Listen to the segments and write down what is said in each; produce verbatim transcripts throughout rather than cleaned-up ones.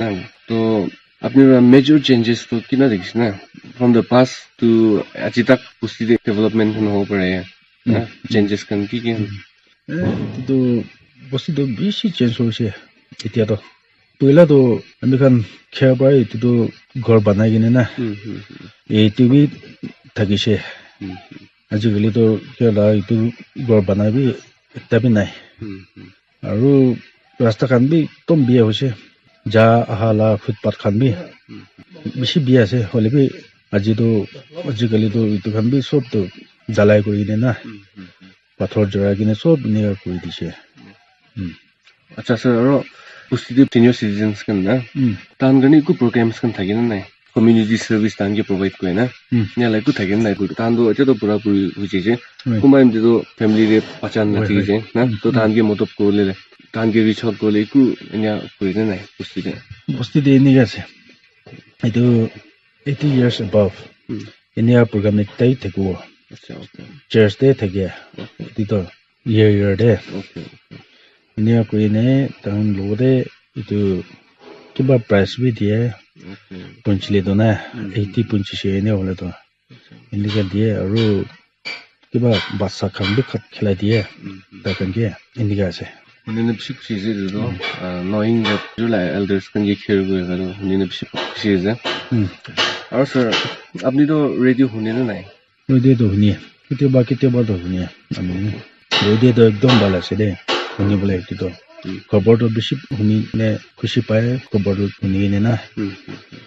Na, to apni para major changes to kina dekhise na, from the past to aji tak bosti te development khan hobo pare na, changes khan ki ki? Eh, etu tu bosti tu bishi change hoise. Etia to poila to ami khan kher para etu tu ghor banai kene na, Hmm, hmm, hmm. Etu bi thakise. Hmm, hmm. Ajikali to kya la etu ghor banai bi ekta bi nai. Hmm, hmm. Aru rasta khan bi ekdom biya hoise. Ja aha la footpath khan bi bishi biya ase. Hoile bi aji to, ajikali to etu khan bi sob to jalai kuri kene na, Hmm, hmm, hmm. Pathor jurai kene sob eneka kuri dise. Hmm. Acha sir, aro bosti te senior citizens khan na, Hmm. Tahan karne eku programs khan thake na nai? Community service tahan ke provide kore na? Hmm. Enia la eku thake na nai? Tahan to etia to pura puri hoi jaise. Hmm. Kunba time te to family te bacha Hoi, nathaki hoi. Jaise na? Hmm, To hmm. Tahan ke madad kore le, tahan ke reach out kore le eku enia kore na nai bosti te? Bosti te enika ase. Etu eighty years above. Hmm. Enia program ekta hi thakibo. Acha, okay. Church te thake. Okay. Etu to year year te. Okay, okay. Enia koi ne tahan logote etu kiba prize bi diye. Okay. Punchile to na, Hmm. Eighty punchise enia hoile to. Acha. Enika diye aru kiba bacha khan bi khat khilai diye. Hmm, hmm. Tai khan ke enika ase. Huni ne bishi khushi ase etu to. Hmm. Ah, knowing that you like elders khan ke care kore kare huni ne bishi khushi ase. Hmm. Aru sir, apni to radio huni na nai? Radio to huni. Ketiaba, ketiaba to huni. Ami radio to ekdom bhal ase de. Huni bole etu to. Hmm. Khobor to bishi huni ne khushi pai, khobor to huni ne na. Hmm, hmm, hmm.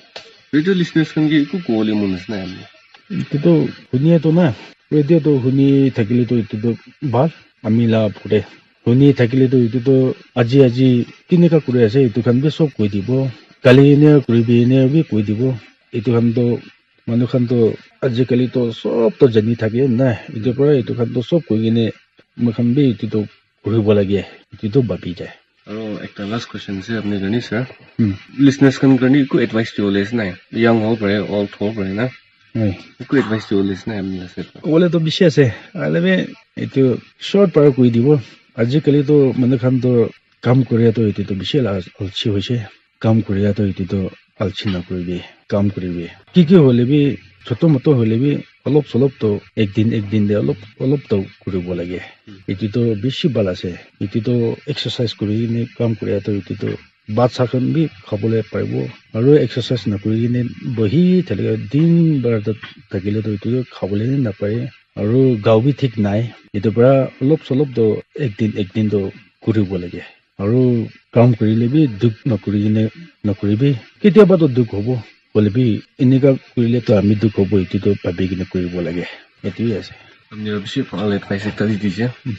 Radio listeners khan ke eku kobole mon ase na apni? Etu to huni to na. Radio to huni thakile to etu to bhal. Ami la pore. Huni thakile to etu to aji aji kineka kuri ase etu khan bi sob koi dibo. Kali enia kuribi enia bi koi dibo. Etu khan to manu khan to ajikali to sob to jani thake na. Etu para etu khan to sob koi kene moi khan bi etu to kuribo lage. Etu to bhabi jai. Aro ekta last question ase apni karne sir. Hmm. Listeners khan karne eku advice dibole ase nai? Young hobo pare, old hobo pare na? Hoi. Eku advice dibole ase nai apni la side para? Kobole to bishi ase. Hoile bi etu short para koi dibo. Ajikali to manu khan to kam koria to etu to bishi la alsi hoise. Kam koria to etu to alsi nakuribi, kam kuribi. Ki ki hoile bi, choto moto hoile bi, olop solop to ek din, ek din te olop, olop to kuribo lage. Hmm. Etu to bishi bhal ase. Etu to exercise kuri kene kam koria to etu to bhat sa khan bi khabole paribo. Aru exercise nakuri kene bohi thakile din bhar to thakile to etu to khabole napare. Aru gao bi thik nai. Etu para olop solop to ek din, ek din to kuribo lage. Aru kam kurile bi dukh nakuri kene nakuribi. Ketiaba to dukh hobo. Hoile bi enika kurile to ami dukh hobo, etu to bhabi kene kuribo lage. Etu hi ase. Apni para bishi bhal advice ekta di dise. Hmm.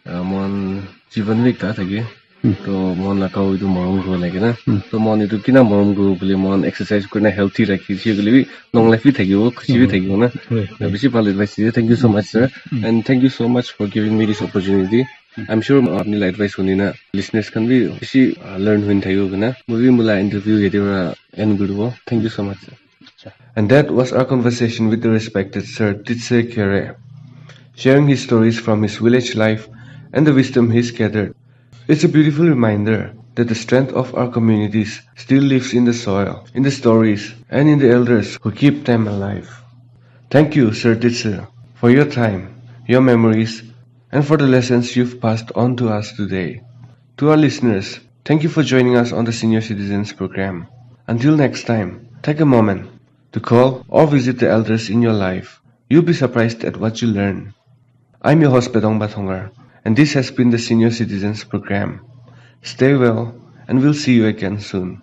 Ah, mohan jivan bi ekta thake. Hmm. To mohan la gao etu morom kuribo lage na. Hmm. To mohan etu kina morom kuribo koile mohan exercise kurina healthy rakhi dise koile bi long life bi thakibo, khushi bi Hmm. thakibo na. Hoi, hoi. Bishi bhal advice dise. Thank you so much, sir. Hmm. And thank you so much for giving me this opportunity. I'm sure apni la advice huni na listeners khan bi bishi, uh, learn hoi thakibo koina. Moi bi moi la interview yate para end kuribo. Thank you so much, sir. And that was our conversation with the respected Sir Titse Khere, sharing his stories from his village life and the wisdom he's gathered. It's a beautiful reminder that the strength of our communities still lives in the soil, in the stories, and in the elders who keep them alive. Thank you, Sir Titse, for your time, your memories, and for the lessons you've passed on to us today. To our listeners, thank you for joining us on the Senior Citizens Program. Until next time, take a moment to call or visit the elders in your life. You'll be surprised at what you learn. I'm your host, Bedong Bathongar, and this has been the Senior Citizens Program. Stay well, and we'll see you again soon.